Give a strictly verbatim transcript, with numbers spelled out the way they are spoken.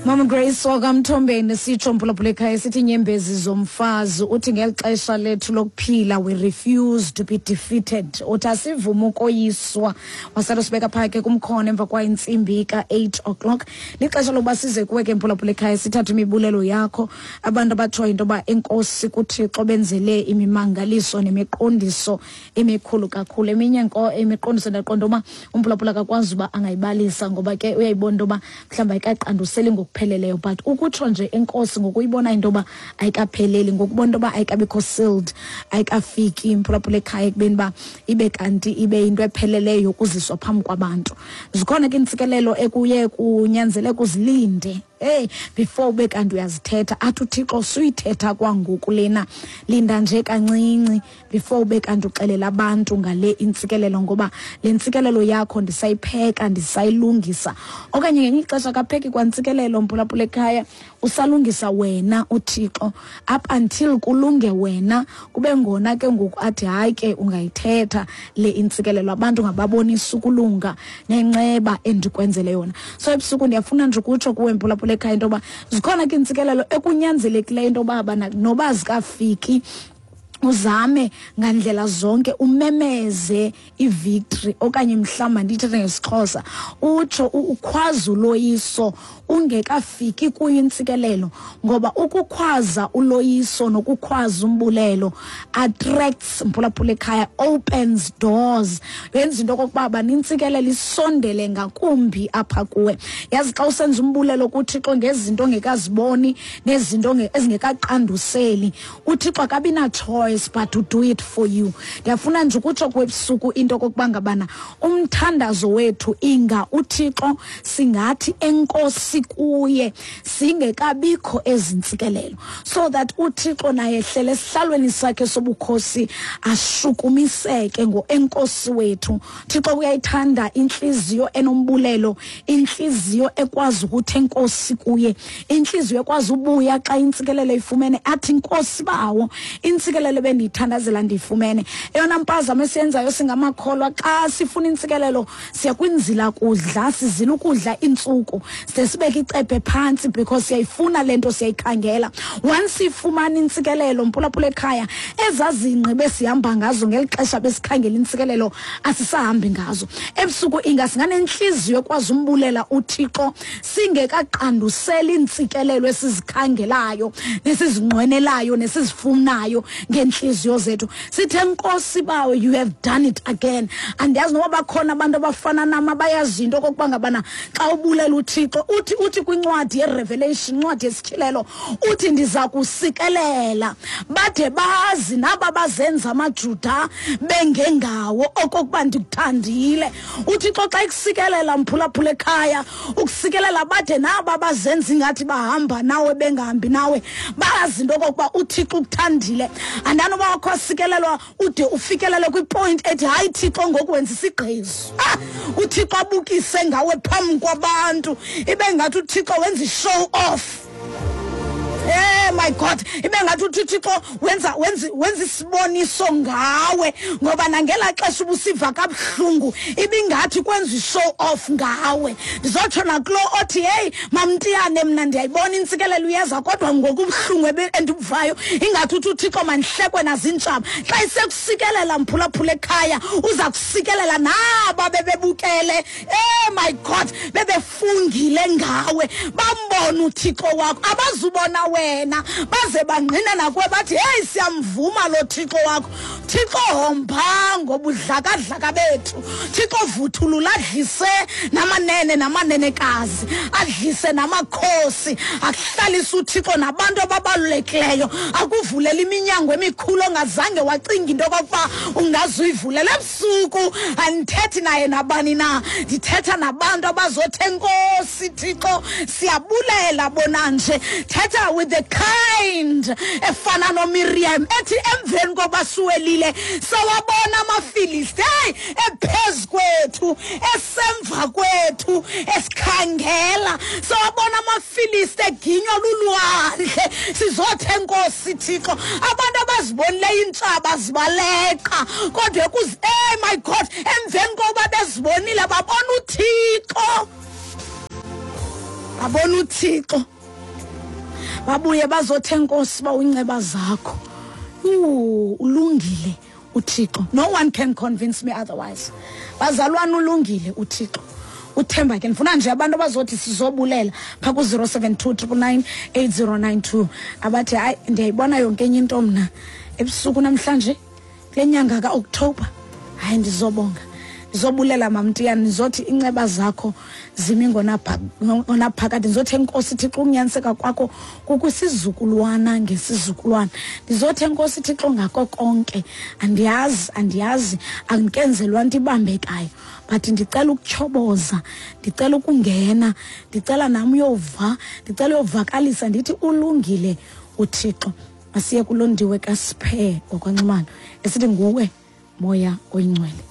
Mama Grace wakamthombeni sitsho mphulaphula ekhaya sithi inyembezi zomfazi uthi ngeli xesha lethu lokuphila we refuse to be defeated. Uthi asivuma ukoyiswa. Wasala sibeka phaa ke kumkhono emva kwa intsimbi ka-eight o'clock. Lixesha lokuba size kuwe ke mphulaphula ekhaya sithathe imibulelo yakho. Abantu abatshoyo into yoba enkosi kuThixo benzele imimangaliso nemiqondiso emikhulu kakhulu. Eminye nko imiqondiso ndaqonda uba umphulaphula akakwazi uba angayibalisa ngoba ke uyayibona into yoba mhlawumbi ayikaqanduseli ngokupheleleyo, but ukutsho nje enkosi ngokuyibona into yoba ayikapheleli, ngokubona into yoba ayikabikho sealed, ayikafiki imphulaphula ekhaya ekubeni uba ibe kanti ibe yinto epheleleyo yokuziswa phambi kwabantu. Zikhona ke iintsikelelo ekuye kunyanzeleka uzilinde hey before ube kanti uyazithetha. Athi uThixo suyithetha kwangoku lena, linda nje kancinci before ube kanti uxelela abantu ngale intsikelelo, ngoba le ntsikelelo yakho ndisayipheka, ndisayilungisa. Okanye ngelinye ixesha akapheki kwantsikelelo mphulaphula ekhaya, usalungisa wena uThixo up until kulunge wena, kube ngona ke ngoku athi hayi ke ungayithetha le intsikelelo, abantu ngababonisa ukulunga nenceba endikwenzele yona. So ebusuku ndiyafuna nje ukutsho kuwe mphulaphula ekhaya into yoba zikhona ke iintsikelelo ekunyanzelekileyo into yoba noba zikafiki uzame ngandlela zonke umemeze ivictory, okanye mhlawumbi ndithethe ngesiXhosa utsho ukhwaza uloyiso ungekafiki kuyo intsikelelo, ngoba ukukhwaza uloyiso nokukhwaza umbulelo attracts mphulaphula ekhaya, opens doors, yenza into okokuba banintsikelelo isondele ngakumbi apha kuwe. Yazi xa usenza umbulelo kuThixo ngezinto ongekaziboni nezinto ezingekaqanduseli, uThixo akabi na-choice but to do it for you. Ndiyafuna nje ukutsho kwebusuku into okokuba ngabana umthandazo wethu inga uThixo singathi enkosi kuye singekabikho ezintsikelelo, so that uThixo naye ehlele esihlalweni sakhe sobukhosi ashukumiseke ngoenkosi wethu. Thixo uyayithanda intliziyo enombulelo, intliziyo ekwazi ukuthi enkosi kuye, intliziyo ekwazi ubuya xa intsikelelo ifumene athi inkosi bawo, intsikelelo bendiyithandazela ndiyifumene. Eyona mpazamo esiyenzayo singamakholwa xa sifuna intsikelelo siya kwinzila kudla, sizila ukudla iintsuku, side sibeke icephe phantsi because siyayifuna le nto, siyayikhangela. Once ifumana intsikelelo mphulaphula ekhaya, ezazingqi besihamba ngazo ngeli xesha besikhangela intsikelelo asisahambi ngazo. Ebusuku inga singanentliziyo ekwazi umbulela uThixo singekaqanduseli iintsikelelo esizikhangelayo nesizinqwenelayo nesizifunayo ngentliziyo zethu. Sithe Nkosi bawo, you have done it again. Andiyazi noba bakhona abantu abafana nam abayazi into okokuba ngabana xa ubulela uThixo, uthi uthi kwincwadi yeRevelation, incwadi yesityhilelo, uthi ndiza kusikelela bade bazi naba bazenza amaJuda bengengawo okokuba ndikuthandile. UThixo xa ekusikelela mphulaphula ekhaya, ukusikelela bade naba bazenza ingathi bahamba nawe bengahambi nawe, bazi into okokuba uThixo ukuthandile. Andanoba wakho asikelelwa ude ufikelele kwipoint ethi hayi Thixo ngoku wenza isigqizo. Ah, uThixo abukise ngawe phambi kwabantu, ibe ngathi uThixo wenza i-show off. Eh my God, ibe ngathi uThixo wenza wenza wenza isiboniso ngawe, ngoba nangela xesha ubusiva kabuhlungu ibingathi kwenza i-show off ngawe. Ndizotsho nakulo othi hey mamntiyane, mna ndiyayibona intsikelelo uyeza, kodwa ngokubuhlungu endibuvayo ingathi uthi uThixo mandihlekwe nazintshaba. Xa isekusikelela mphulaphula ekhaya, uza kusikelela naba bebebukele, eh my God, bebefungile ngawe, bambona uThixo wakho, abazubona wena baze bangqina nakuwe bathi hey siyamvuma lo Thixo wakho. Thixo homba ngobudlakadlaka bethu, Thixo vuthulula adlise namanene namanenekazi, adlise namakhosi, akuhlalise uThixo nabantu ababalulekileyo, akuvulela iminyango emikhulu ongazange wacinga into okokuba ungazuyivulela. Ebusuku andithethi naye nabani na, ndithetha nabantu abazothi enkosi Thixo siyabulela bona nje. Thetha with the kind efana noMiriam ethi emveni koba suwelile sawabona amaFilisti hey ephezu kwethu, esemva kwethu, esikhangela, sawabona amaFilisti eginywa lulwandle. Sizothi enkosi Thixo. Abantu abazibonileyo iintshaba zibaleqa, kodwa ekuzi hey my God, emveni koba bezibonile babona uThixo. Babona uThixo, babuye bazothe enkosi ba unceba zakho. Ooh, ulungile uThixo. No one can convince me otherwise. Bazalwana, ulungile uThixo. Uthemba ke ndifuna nje abantu abazothi sizobulela phaa ku-zero seven two triple nine eight zero nine two, abathi hayi, ndiyayibona yonke enye into mna ebusuku namhlanje kule nyanga kaOktoba, hayi ndizobonga, ndizobulela mamntiyana, ndizothi inceba zakho zimi ngonaphakade, ndizothi enkosi Thixo ukunyaniseka kwakho kukwisizukulwana ngesizukulwana, ndizothi enkosi Thixo ngako konke. Andiyazi, andiyazi, andikenzelwa nto ibambekayo, but ndicela ukutyhoboza, ndicela ukungena, ndicela nam uyova, ndicela uyovakalisa ndithi ulungile uThixo. Masiye kuLondiwe kaSphe ngokwanxumano esithi nguwe Moya Oyingcwele.